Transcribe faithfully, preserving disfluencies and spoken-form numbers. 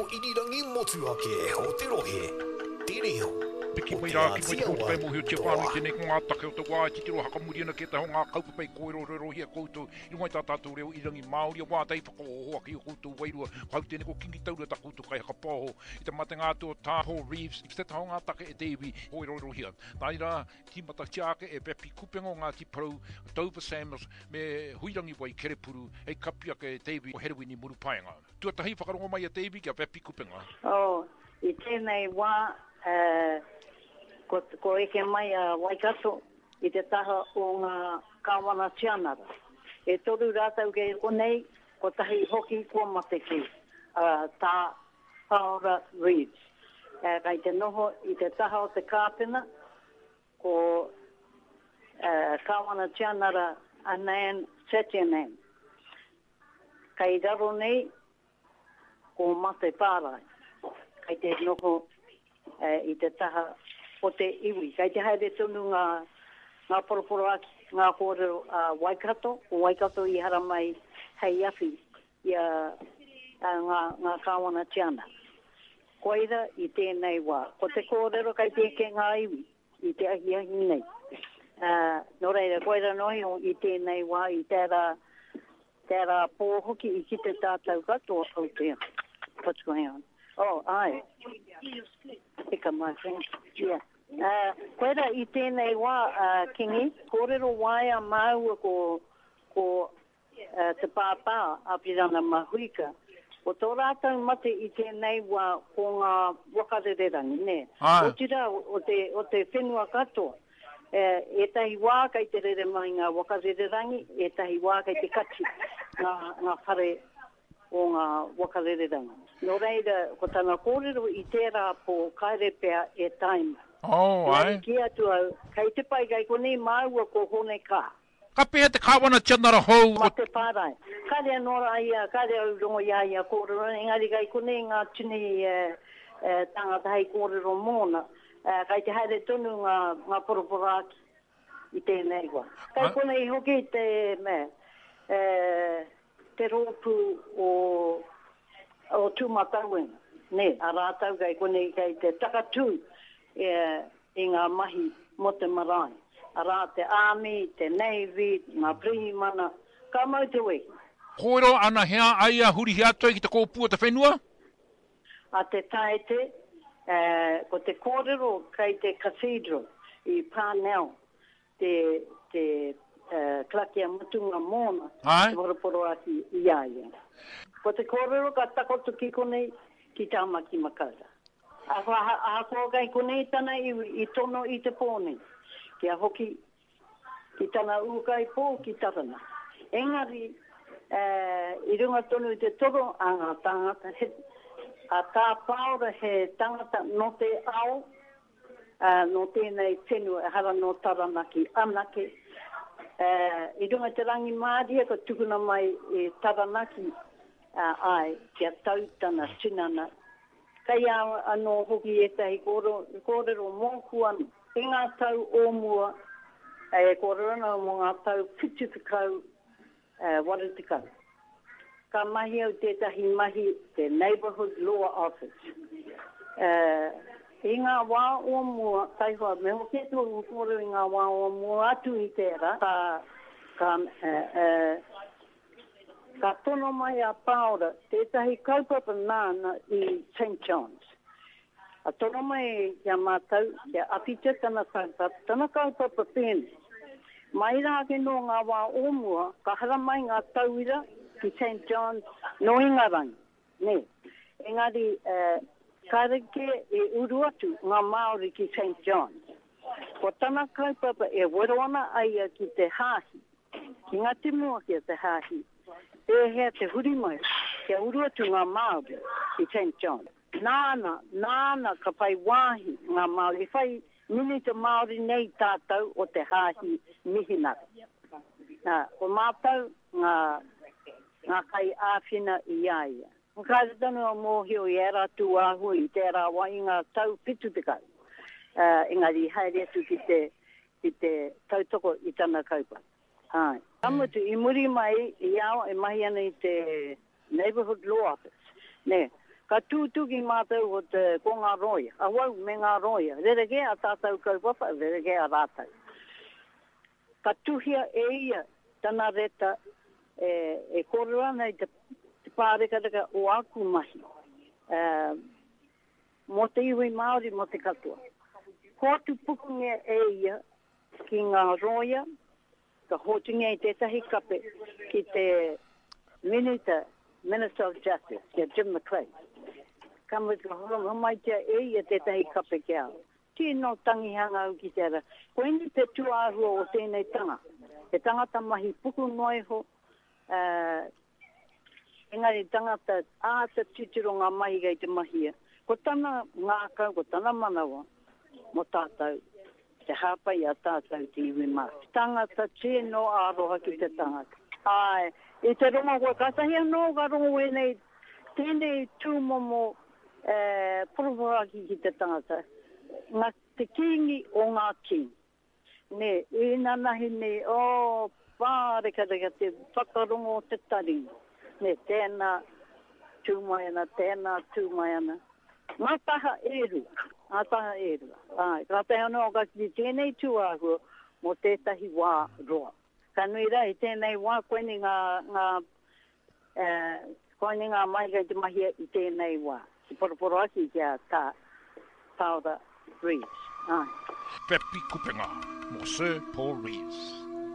reo irirangi motuhake o te rohe, Te Reo Piki o mai Te rā ki mai Āti te koutou Awa, kai mōhiotia Toa. whānui tēnei ko ngā take o te wā e titiro hakamuri ana ki ētahi o ngā kaupapa i kōrerorerohia koutou i runga i tā tātou reo irirangi Māori a wātea i whakaohooho ake i ō koutou wairua. Ko hau tēnei ko Kingi Taura tā koutou kaihakapaoho i te matenga atu o Tā Paul Reeves i te taha o ngā take e te iwi kōrerorerohia. Nā reira, tīmatatia ake e Beppy Kupenga o Ngāti Porou, Dover Samuels me Huirangi Waikerepuru hei kapi ake e te iwi o Herewini Murupaenga. Tuatahi whakarongo mai a te iwi ki a Beppy Kupenga. Oh, i tēnei wā, eh, ko, ko eke mai a Waikato i te taha o ngā kāwana tianara. E toru rātou kei konei, kotahi hoki kua mate kē, uh, tā Paora Reeves. Eh, kei te noho i te taha o te kāpena, ko uh, kāwana tianara Anand Satyanand. Kei raro nei, ko Mate Pārae. Kei te noho eh, i te taha o te iwi. Kei te haere tonu ngā, ngā poroporoaki, ngā kōrero a Waikato, ko Waikato i haramai hei awhi i a, a ngā, ngā kāwana tianara. Koira i tēnei wā. Ko te kōrero kei te eke ngā iwi i te ahiahi nei. Uh, nō reira, koira noa iho i tēnei wā, i tērā, tērā pō hoki i kite tātou katoa. Oh dear, what's going on? Oh, ai. Pick up my friend. Yeah. Uh, koira i tēnei wā, uh, Kingi, kōrero waea māua ko, ko uh, te pāpā Apirana Mahuika. Ko tō rātou mate i tēnei wā ko ngā waka rererangi, nē. Āe. Otirā, o te, o te whenua katoa. E, ētahi wā kei te rere mai ngā waka rererangi, ētahi wā kei te kati ngā, ngā whare o ngā waka rererangi. Nō reira, ko tana kōrero i tērā pō kāre pea e tae mai. Oh, Engari āe. kī atu au, kei te pai kei konei māua ko Hone Kaa. Ka pēhea te kāwana tianara hou o. Mate Pārae. Kāre anō rā ia, kāre au rongo i a ia kōrero, engari kei konei ngā tini e, e, tāngata hei kōrero mōna. E, kei te haere tonu ngā, ngā poroporoaki i tēnei wā. Kei konei hoki te, me, e, te rōpū o, o Tūmatauenga, nē, a rātou kei konei kei te takatū e, i ngā mahi mō te marae. Arā te Army, te Navy, ngā pirihimana, ka mau te wehi. Kōrero ana hea ai a hurihia atu ai ki te kōpū o te whenua? A te Taete, e, ko te kōrero kei te Cathedral i Parnell te, te e, karakia mutunga mōna, Āe. te poroporoaki i a ia. Ko te kōrero ka takoto ki konei, ki Tāmaki Makaurau. Ahakoa kei konei tana iwi i tono i te pō nei, kia hoki ki tana ūkaipō ki Taranaki. Engari, i runga tonu i te toro a ngā tāngata, he, a Tā Pāora he tangata nō te ao, nō tēnei whenua, ehara nō Taranaki anake. I runga i te rangimārie ka tukuna mai e Taranaki, āe, kia tau tana tinana. Kei a au anō hoki ētahi kōrero mōku anō. I ngā tau o mua, e kōrero ana au mō ngā tau whitu tekau, waru tekau, ka mahi au tētahi mahi te Neighbourhood Law Office. I ngā wā o mua, taihoa, me hoki atu aku kōrero i ngā wā o mua atu i tērā, ka, ka, Ka tono mai a Pāora tētahi kaupapa nāna i Saint John's. Ka tono mai ki a mātou kia awhitia tana kaupapa, tana kaupapa pēnei. Mai rā ake nō ngā wā o mua, ka haramai ngā tauira ki Saint John's nō Ingarangi, nē. Engari, kāre kē i uru atu ngā Māori ki Saint John's. Ko tana kaupapa e wero ana a ia ki te hāhi. Ki ngā tumuaki o te hāhi, pēhea te huri mai kia uru atu ngā Māori ki Saint John. Nāna, nāna ka whai wāhi ngā Māori, i whai minita Māori nei tātou o te hāhi Mihinare. Nā, ko mātou ngā, ngā kaiāwhina i a ia. Kāre tonu a mōhio i ērā tūāhua i tērā wā i ngā tau whitu tekau, engari i haere atu ki te, ki te tautoko i tana kaupapa. Āe. Ka mutu, i muri mai i a au e mahi ana i te Neighbourhood Law Office, nē, Ka tūtuki mātou ko te, ko ngā rōia, awau me ngā rōia, rerekē a tātou kaupapa, rerekē a rātou. Ka tuhia e ia tana reta e, e kōrero ana i te, te pārekareka o aku mahi, e, mō te iwi Māori, mō te katoa. Hoatu pukungia e ia ki ngā rōia, ka hoatungia i tētahi kape ki te Minita, Minister of Justice, ki a Jim McLean. Ka mutu, ka homaitia e ia tētahi kape ki au. Tino tangihanga au ki te ara. Koinei te tūāhua o tēnei tanga. He tangata mahi puku noa iho, uh, engari tangata āta titiro ngā mahi kei te mahia. Ko tana ngākau, ko tana manawa, mō tātou, te hāpai a tātou te iwi Māori. Tangata tino aroha ki te tangata. Ai, i te rongo koe, kātahi anō ka rongo ēnei, tēnei tūmomo e, poroporoaki ki te tangata. Ngā te kīngi o ngā kīngi. Ne, inanahi nei, o, pārekareka te whakarongo o te taringa. Ne, tēnā tū mai ana, tēnā tū mai ana. Ngā taha e rua, ngā taha e rua. Ai, kātahi anō ka kite tēnei tūāhua mō tētahi wā roa. Ka nui rā, i tēnei wā, koinei ngā, ngā, eh, koinei ngā mahi kei te mahia i tēnei wā. Te poroporoaki ki a Tā Paora Reeves. Ai. Pepi Kupenga mō Sir Paul Reeves.